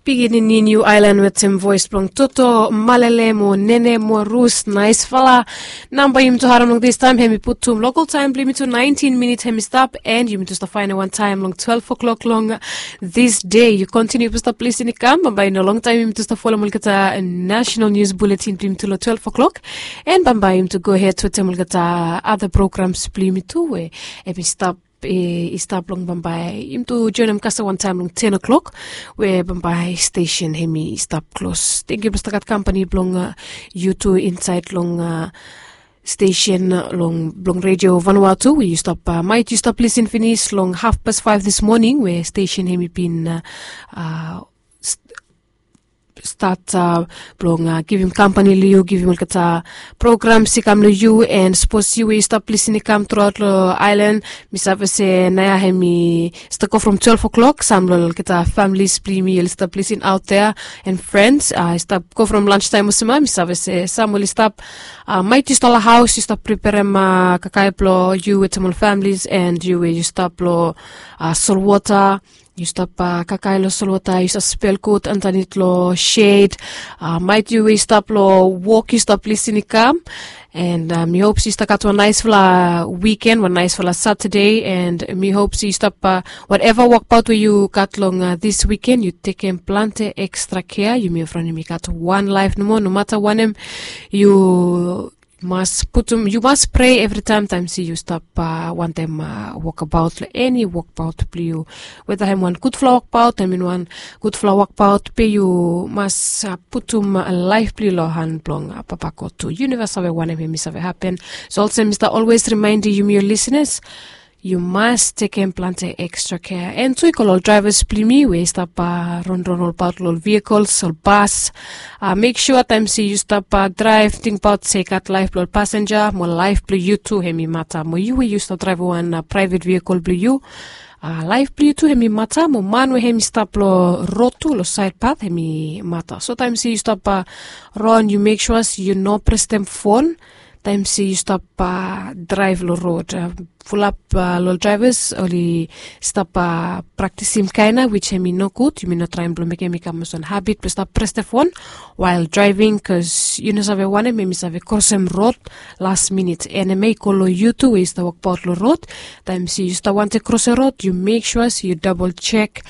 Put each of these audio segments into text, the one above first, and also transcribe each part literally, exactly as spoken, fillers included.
Pikinini niu ailan wetem voes blong toto malele mo nene mo rus naisfala. Namba yumi tu harim long distaim hem i putum lokal taim blong yumi tu naintin minit hem i stap, en yumi tu stap faenem wan taim long twelve o'clock long disde. Yu kontiniu blong stap lisin i kam bambae i no longtaim yumi tu stap folem olgeta national nius buletin blong yumi tu long twelve o'clock. En bambae yumi tu gohed wetem olgeta ada programs blong yumi tu we hem i stap i stap long bambae yumi tu joenem kasem wantaim long ten o'clock, we bambae stesen hem i stap klos. Tengiu blong stap gat kampani blong yu tu insaed long stesen long blong redio vanua tu we yu stap, mait yu stap lisin finis long hafpas faef dis moning we stesen hem i bin stat blong givim kampani long yu, givim olgeta programs i kam long yu. En sapos yu we yu stap lisin i kam truaot long ailan, mi save se naoia hem i stap go from twelve o'clock, sam long olgeta familis blong yumi oli stap lisin aot dea, en frens i stap go from lanstaim olsem ya. Mi save se sam oli stap, mait yu stap long haos yu stap preperem kakae blong yu wetem ol familis, en yu we yu stap long solwota, yu stap kakae long solwota, yu stap spel gud andanit long shed. Mait yu we yu stap long wok yu stap lisin i kam. En mi hop se yu stap gat wan naisfala wiken, wan naisfala satade. En mi hop se yu stap, wateva wokbaot we yu gat long dis wiken yu tekem plante ekstra kea. Yumi evriwan yumi gat wan laef nomo, nomata wanem yu mas putum, yu mas prea evritaem taem se yu stap wantem wokbaot long eni wokbaot blong yu. Weta hem wan gudfala wokbaot, hem i no wan gudfala wokbaot, be yu mas putum laef blong yu long han blong Papa God tu. Yu neva save wanem hem i save hapen. So olsem mi stap olwes rimaenem yumi ol lisenas, yu mas tekem plante ekstra kea. En tu i go long ol draevas blong yumi we i stap ronron olbaot long ol vehikols, ol bas, mek sua taem se yu stap draev tingbaot se i gat laef blong ol pasenja mo laef blong yu tu hem i mata. Mo yu we yu stap draevem wan praevet vehikol blong yu, laef blong yu tu hem i mata. Mo man we hem i stap long rod tu long saed pat hem i mata. So taem se yu stap ron, yu mek sua se yu no prestem fon taem se yu stap draev long rod. Fulap long ol draevas oli stap praktisim kaen ya, wis hem i nogud. Yumi no traem blong mekem hem i kam olsem wan habit blong stap prestem fon wael draeving, bikos yu no save wanem hem i save krosem rod las minit. En hem i go long yu tu we yu stap wokbaot long rod. Taem se yu stap wantem krosem rod, yu mek sua se yu dabol jek,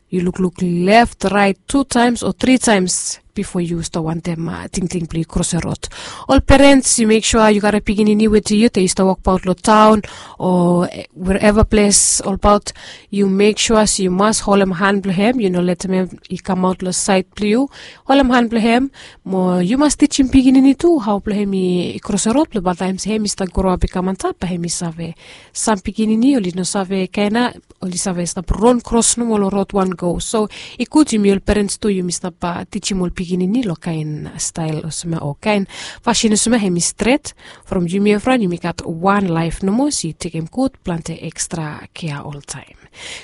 yu lukluk lef, raet tu taems o tri taems bifo yu stap wantem tingting blong yu krosem rod. Ol perens, yu mek sua yu gat pikinini wetem yu, taem yu stap wokbaot long taon o wereva ples olbaot, yu mek sua se yu mas holem han blong hem, yu no letem hem i kamaot long saed blong yu. Holem han blong hem, mo yu mas tijim pikinini tu hao blong hem i krosem rod, blong bae taem se hem i stap groap i kam antap, bae hem i save. Sam pikinini oli no save kaen ya, oli save stap ron kros nomo long rod wan go. So i gud yumi ol perens tu yumi stap tijim ol pikinini long kaen stael olsem ya o kaen fasin olsem ya hem i stret. From yumi evriwan yumi gat wan laef nomo, so yu tekem gud plante ekstra kea oltaem.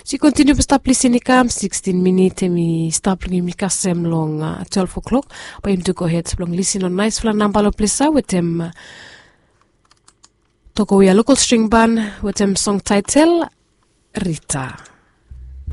So yu kontiniu blong stap lisin i kam, sikstin minit hem i stap long yumi kasem long twelve o'clock. Bae yumi tu gohed blong lisin long naesfala namba long ples ya wetem Tokowi ya lokal string ban wetem song taetel Rita.